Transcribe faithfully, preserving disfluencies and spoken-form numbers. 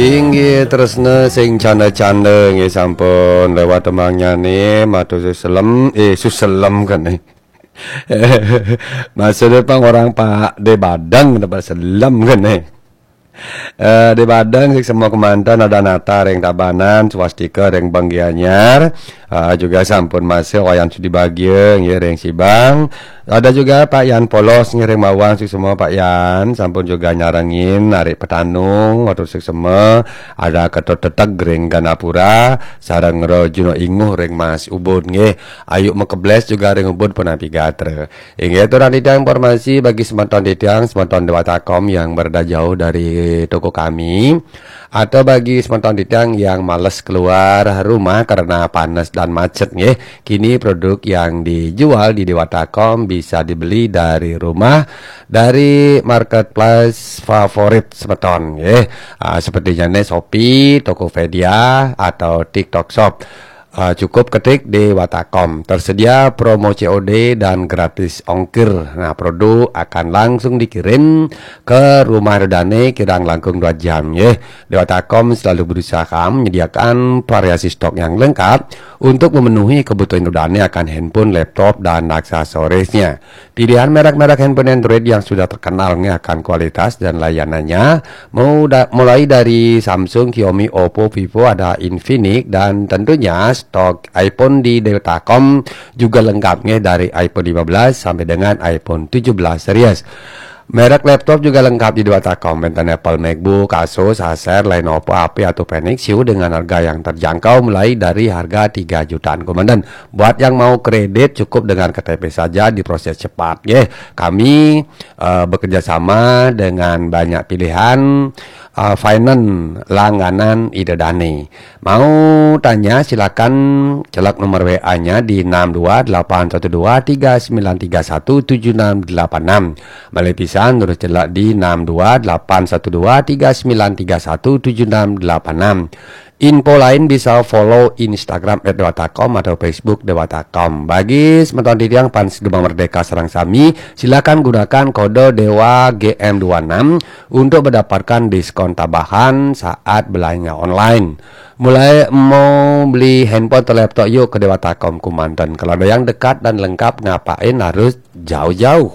Inggih tresna sing canda-canda nggih sampun lewat temangnyané matur suselem, eh suselem kan eh. Maksudnya pang orang Pak de Badeng dapat selem kan eh. Eh, de Badeng sing semua kemanten ada nata ring Tabanan, swastika ring Bang Gianyar. Ah, juga sampun masih Wayan Sudi Bagia nggih ring Sibang. Ada juga Pak Yan Polos ngiring mawang suksma Pak Yan, sampun juga nyarengin narik petanung, matur suksma. Ada Ketut Teteg ring Ganapura, sareng Rajuna Inguh ring Mas Ubud nggih. Ayu Mekebles juga ring Ubud punapi gatra. Inggih aturang titiang informasi bagi semeton titiang, semeton Dewatakom yang berada jauh dari toko kami. Atau bagi semeton titiang yang males keluar rumah karena panas dan macet nggih, kini produk yang dijual di Dewatakom bisa dibeli dari rumah, dari marketplace favorit semeton nggih. Ah, sepertinya nih Shopee, Tokopedia, atau TikTok Shop. Ah, cukup ketik Dewatakom. Tersedia promo C O D dan gratis ongkir. Nah, produk akan langsung dikirim ke rumah Ida dané kirang langkung dua jam nggih. Dewatakom selalu berusaha menyediakan variasi stok yang lengkap untuk memenuhi kebutuhan Ida dané akan handphone, laptop, dan aksesorisnya. Pilihan merek-merek handphone Android yang sudah terkenal nggih akan kualitas dan layanannya, mau da- mulai dari Samsung, Xiaomi, Oppo, Vivo, ada Infinix, dan tentunya stok iPhone di Dewatakom juga lengkap nggih, dari iPhone lima belas sampai dengan iPhone tujuh belas series. Merek laptop juga lengkap di Dewatakom, enten Apple MacBook, Asus, Acer, Lenovo, H P, atau Panasonic dengan harga yang terjangkau mulai dari harga tiga jutaan komandan. Buat yang mau kredit cukup dengan K T P saja, diproses cepat nggih. Kami eh, bekerja sama dengan banyak pilihan eh, finance langganan Ida dané. Mau tanya silakan celak nomor W A-nya di enam dua delapan satu dua tiga sembilan tiga satu tujuh enam delapan enam. Malih pisan terus celak di enam dua delapan satu dua tiga sembilan tiga satu tujuh enam delapan enam. Info lain bisa follow Instagram at dewatakom atau Facebook Dewatakom. Bagi semeton titiang fans Gema Merdeka sareng sami, silakan gunakan kode Dewa G M dua enam untuk mendapatkan diskon tambahan saat belanja online. Mulai mau beli handphone atau laptop yuk ke Dewatakom Kumanten. Kalau ada yang dekat dan lengkap, ngapain harus jauh-jauh?